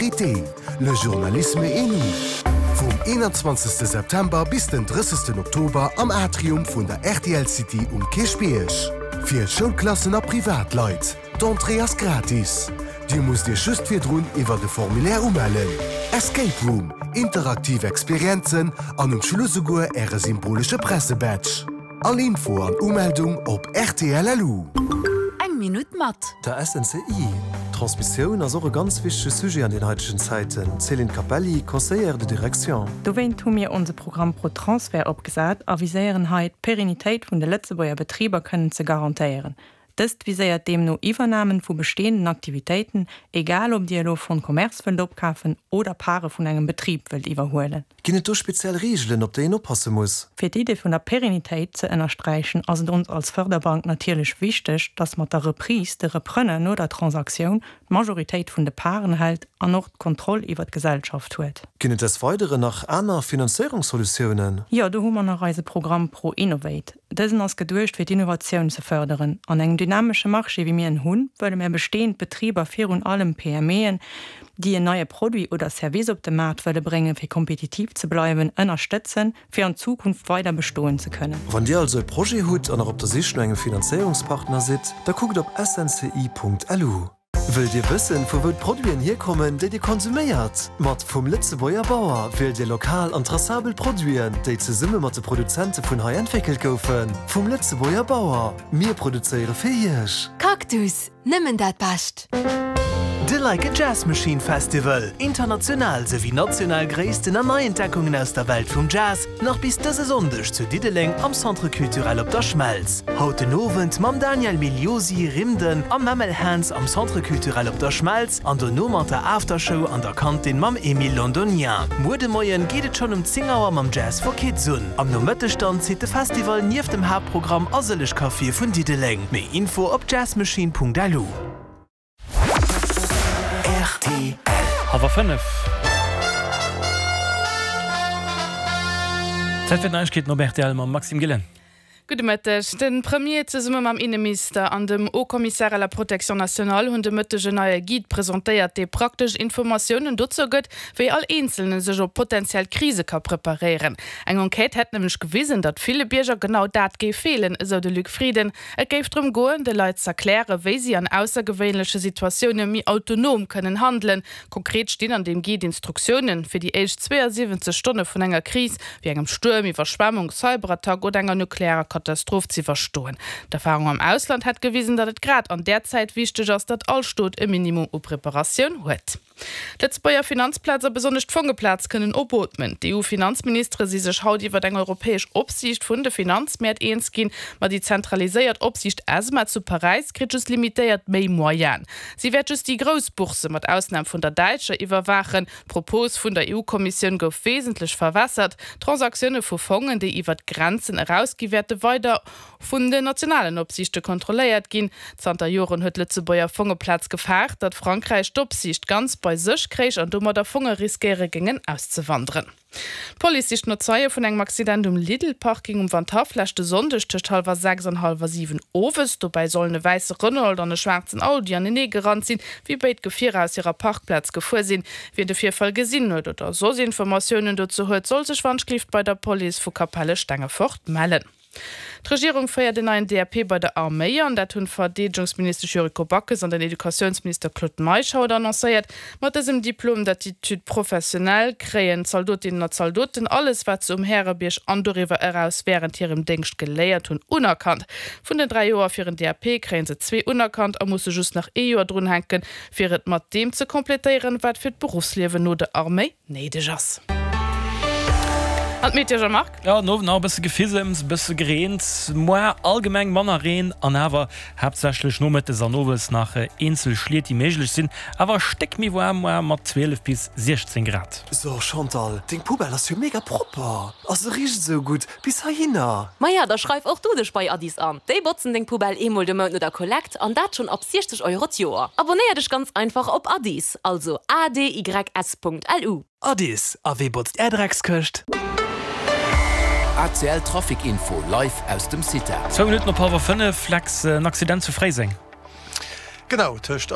Vérité, le journalisme et nous, vum 21 September bis den 30 Oktober am Atrium vun der rtl City um Kierchbierg. Fir Schoulklassen a Privatleit. D'Entrée ass gratis. Dir musst Iech just virdrun iwwert e Formulaire umellen. Escape Room, interaktiv Experienzen an um Schluss esouguer Äre symbolesche Pressebadge. All Info an Umeldung op rtl.lu. Eng Minutt mat. Der SNCI. D'Transmissioun ass och e ganz wichtege Sujet an den haitegen Zäiten, Céline Capelli, Conseillère de direction. Dowéint hu mir onse Programm ProTransfer opgesat a viséieren hei, d'Pérenitéit vun de Lëtzebuerger Betriber kënnen ze garantéieren. Dëst viséiert deemno Iwwernamen vu bestehenden Aktivitéiten, egal ob Dir elo Fonds de commerce wëllt opkafen oder Pare vun engem Betrib wëllt iwwerhuelen. Ginn et do speziell Reegelen, op déi een oppasse muss? Fir d'Idee vun der Pérenitéit ze ënnersträichen, ass et ons als Förderbank natierlech wichteg, dass mat der Reprise de Repreneur no der Transaktioun d'Majoritéit vun de Paren hält an och d'Kontroll iwwer d'Gesellschaft huet. Ginn et des Weideren nach aner Finanzéierungssolutiounen? Jo, do hu mer nach eise Programm ProInnovate. Dësen ass geduecht fir d'Innovatioun ze fërderen. An engem dynamesche Marché wéi mir en hunn, wëlle mär bestehend Betriber, virun allem PMEen, déi en neie Produit oder Service op de Maart wëlle bréngen fir kompetitiv ze bleiwen, ënnerstëtzen, fir an Zukunft weider bestoen ze kënnen. Wann Dir also e Projet hutt an nach op der Sich no engem Finanzéierungspartner sidd, da kuckt op snci.lu. Wëllt Dir wëssen, vu wou d'Produiten hierkommen, déi Dir konsuméiert? Mat Vum Lëtzebuerger Bauer wielt Dir lokal an tracabel Produiten, déi zesumme mat de Produzente vun hei entwéckelt goufen. Vum Lëtzebuerger Bauer, mir produzéiere fir Iech! Cactus, nëmmen dat Bescht! De Like a Jazz Machine Festival, international souwéi national Gréissten an Neientdeckungen aus der Welt vum Jazz, nach bis dëse Sonndeg zu Diddeleng am Centre Culturel Op der Schmelz. Haut den Owend mam Daniel Migliosi, Rimden a Mammal Hands am Centre Culturel Op der Schmelz an dono mat der Aftershow an der Kantin mam Emile Londonien. Muer de Moien geet et schonn um 10 Auer mam Jazz for Kids un. Am Nomëtteg dann zitt de Festival nieft dem Haaptprogramm a sëlleg Caféë vun Diddeleng. Méi Info op jazzmachine.lu. Rtl. Hallwer 5. Zäit fir d'Neiegkeeten op rtl mam Maxime Gillen. Gudde Mëtteg. De Premier zesumme mam Inneminister an dem Haut Commissaire à la protection nationale hunn de Mëtteg en neie Guide presentéiert, dee praktesch Informatiounen dozou gëtt, wéi all Eenzelne sech op potentiell Krise ka preparéieren. Eng Enquête hätt nämlech gewisen, datt ville Bierger genau dat géif feelen, esou de Luc Frieden. Et géif drëm goen, de Leit z'erklären, wéi si an aussergewéinleche Situatioune méi autonom kënnen handelen. Konkret stinn an deem Guide Instruktiounen, fir déi éischt 72 Stonne vun enger Kris, wéi engem Stuerm, Iwwerschwemmung, Cyberattack oder enger nuklearer Katastroph z'iwwerstoen. D'Erfarung am Ausland hätt gewisen, datt et grad an där Zäit wichteg ass, datt all Stot e Minimum u Preparatioun huet. D'Lëtzebuerger Finanzplaz a besonnesch d'Fongeplaz kënnen opootmen. D'EU-Finanzministere si sech haut iwwer eng europäesch Opsiicht vun de Finanzmäert eens ginn. Ma déi zentraliséiert Opsiicht ESMA zu Paräis kritt just limitéiert méi Moyenen. Si wäert just déi grouss Boursse, mat Ausnam vun der däitscher, iwwerwaachen. D'Propos vun der EU-Kommissioun gouf wesentlech verwässert. D'Transaktioune vu Fongen, déi iwwer d'Grenzen erausgi wäerte weider vun den nationalen Opsiichte kontrolléiert ginn. Zanter Joren huet d'Lëtzebuerger Fongeplaz gefaart, datt Frankräich d'Opsiicht ganz bei sech kréich an domadder Fonge riskéiere géingen auszewanderen. D'Police sicht no Zeie vun engem Accident um Lidl-Parking um Wandhaff leschte Sonndeg tëscht hallwer 6 an hallwer 7 owes. Dobäi sollen e wäisse Renault an e schwaarzen Audi anenee gerannt sinn, wéi béid Gefierer aus hirer Parkplaz gefuer sinn. Wien de Virfall gesinn huet oder soss Informatiounen dozou huet, soll sech wannschlift bei der Police vu Capelle-Stengefort mellen. D'Regierung féiert en neien DAP bei der Arméi an. Dat hunn d'Verdeedegungsministesch Yuriko Backes an den Educatiounsminister Claude Meisch haut annoncéiert. Mat dësem Diplôme d'attitude professionnelle kréien d'Zaldotinnen a Zaldoten alles, wat se um Härebierg an doriwwer eraus wärend hirem Déngscht geléiert hunn, unerkannt. Vun den 3 Joer fir en DAP kréie se zwee unerkannt a musse just nach ee Joer drunhänken, fir et mat deem ze completéieren, wat fir d'Beruffsliewen no der Arméi Néideg ass. An d'Meteo, Jean-Marc? Jo, den Owend nach e bësse Gefisems, e bësse gereent, moar allgemeng manner Reen an awer haaptsächlech nomëttes an owes nach eenzel Schliet déi méiglech sinn. Awer e Stéck méi waarm moar mat 12 bis 16 Grad. So Chantal, deng Poubelle ass jo mega propper a se richt esou gutt bis heihinner. Maja, da schreif och du dech bei Addis an. Déi botzen deng Poubelle eemol de Mount no der Kollekt an dat schonn ab 60 Euro d'Joer. Abonnéier dech ganz einfach op Addis, also adys Punkt lu. Addis, a wee botzt är Dreckskëscht? ACL Trafic Info live aus dem CITA. Zwou Minutten op hallwer 5, Lex, en Accident zu Fréiseng. Genau, tëscht.